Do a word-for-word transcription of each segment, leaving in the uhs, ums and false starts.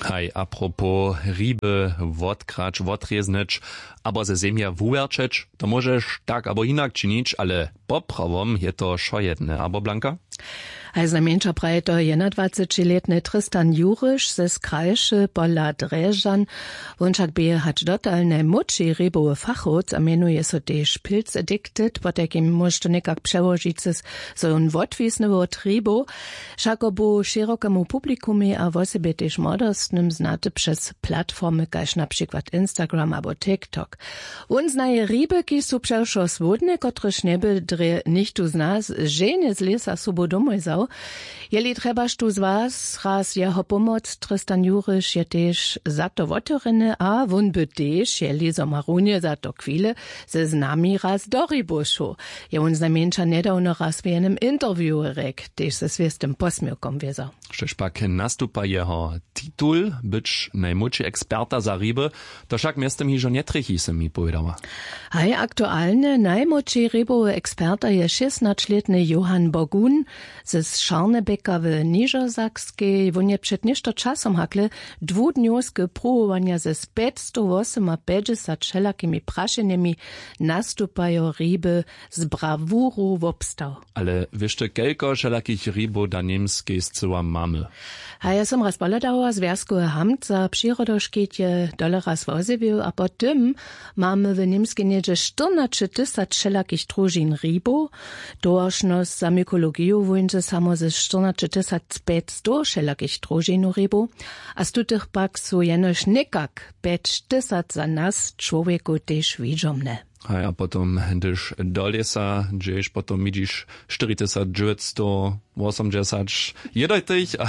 Haj, apropos, hriby wotkrać, wotrěznyć abo ze zemje wuwjerćeć, to móžeš tak abo hinak činić, ale poprawom je to wšojedne, abo, Blanka? Haj, znajmjeńša praje to jednadwacećilětny Tristan Juriš ze Skrajše pola Drježdźan. Wón wšak bě hač dotal najmłódši hribowy fachowc a mjenuje so tež Pilz Addicted, potajkim móžeš to někak přełožić, zo je wón wotwisny wot hribow. Wšako bu šěrokemu publikumej a wosebje tež młodostnym znaty přez platformy kaž na přikład Instagram abo TikTok. Wón znaje hriby, kiž su přewšo słódne, kotrež njeby drje nichtó z nas ženje z lěsa sobu domoj wzał. Jeli trjebaš tu z was raz jeho pomoc, Tristan Juriš je tež za to wotewrjeny a wón by tež, jeli zo ma runje za to chwile, ze znami raz do hribow šoł. Je wón znajmjeńša njedawno raz w jenym interviewu rjekł, tež ze swěstym posměwkom wězo. Štož pak nastupa jeho titul, być najmłódši eksperta za hriby, to wšak mjeztym hižo njetrjechi, sy mi powědała. Haj, aktualnje najmłódši hribowy eksperta je šěsnaćlětny Johann Bogun ze Scharnebecka w Nižosakskej. Wón je před něšto časom hakle dwudnjowske pruwowanja ze pjećstowwosymapećdźesat wšelakimi prašenjemi nastupajo hriby z brawuru wobstał. Ale wěš ty, kelko wšelakich hribow na Němskej scyła mamy? A ja som raz pohladała, zwjazkowy hamt za přirodoškit je tole raz wozjewił a po tym mamy w Němskej něhdźe štyrnaće tysac wšelakich družin hribow. Towaršnosć za mykologiju wóńdźe samo ze štyrnaće tysac pjećstow wšelakich družinow hribow, a z tutych pak su jenož někak pjeć tysac za nas čłowjekow tež widźomne. Haj, a potom hdyž do lěsa dźeš, potom widźiš štyri tysac dźewjećstowwosomdźesać jedojtych a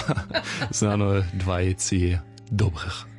snano dwajci dobrych.